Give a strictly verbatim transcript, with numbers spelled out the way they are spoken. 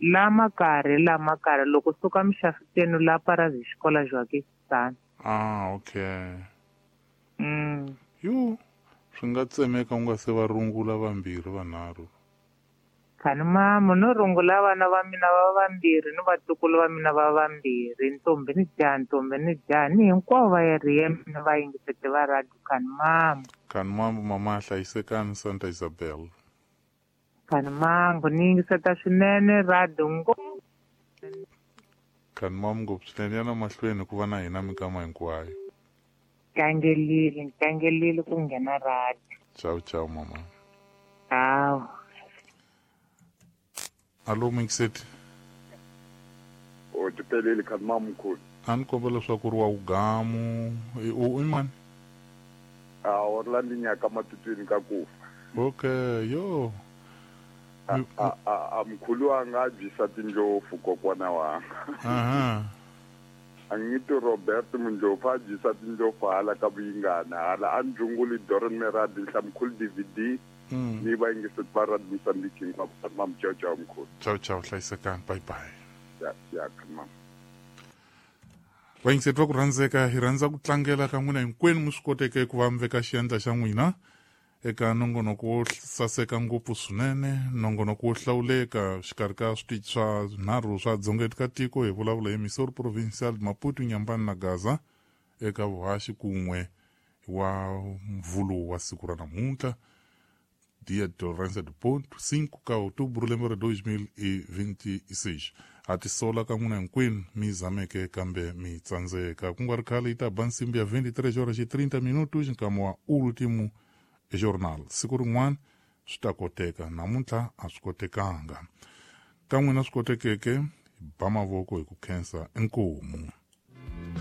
La makarhi la makarhi loko suka mixafiteni la parazi xikola Joaquistana. Ah, okay. Mm. Yo, swi nga tsemeka u nga se va rungula vambirhi vanharhu. Khani mama no rungula vana va mina va vambirhi ni vatukulu va mina va vambirhi ntombi ni jaha ntombi ni jaha ni hinkwavo va area mina va yingisete va radio khani mama. Khani mama mama hlayisekani Santa Isabel. Khani mangu ni yingiseta swinene radio ngopfu. Khani mama ngopfu swinene yana mahlweni ku va na hina minkama hinkwayo. Tlangelile tlangelile ku nghena radio. Ciao ciao mama. Ciao. Alo Mixet. O tipelele khani mama mkhulu. A ni kombela leswaku ri wa ugamu u i mani? A Orlando nyaka matutwini ka kufa. Okay, yo. A a a mkhulu wanga a byisa tindlopfu kokwana wanga. Aha. A ngiti Robert Mundlopfu a byisa tindlopfu hala ka vuyingana hala a ndzunguli Doron Meradi Nhlamkhulu D V D. Mm. Ni va yingiseti va radio Mozambique hinkwavo khani mama ciao ciao mkhulu. Ciao ciao hlayisekani bye bye. Ya ya khani mama. Vayingiseti va ku rhandzeka hi rhandza ku tlangela ka n'wina hinkwenu mi swi koteke ku va mi veka xiyandla xa n'wina eka nongonoko wo saseka ngopfu swinene nongonoko wo hlawuleka xikarhi ka switichi swa nharhu swa dzongeti ka tiko hi vulavula hi Missouri Provincial Maputo Nyambani na Gaza eka vuhaxi kun'we wa mvulu wa siku ra namuntlha dia de Tolerância do Ponto cinco ka outubro lembe ra dois mil e vinte e seis. A tisola ka n'wina hinkwenu mi zameke kambe mi tsandzeka ku nga ri khale yi ta ba nsimbi ya vinte e três horas e trinta minutos nkama wa último jornal. Siku rin'wana swi ta koteka namuntlha a swi kotekanga ka n'wina swi kotekeke ba mavoko hi ku khensa inkomu.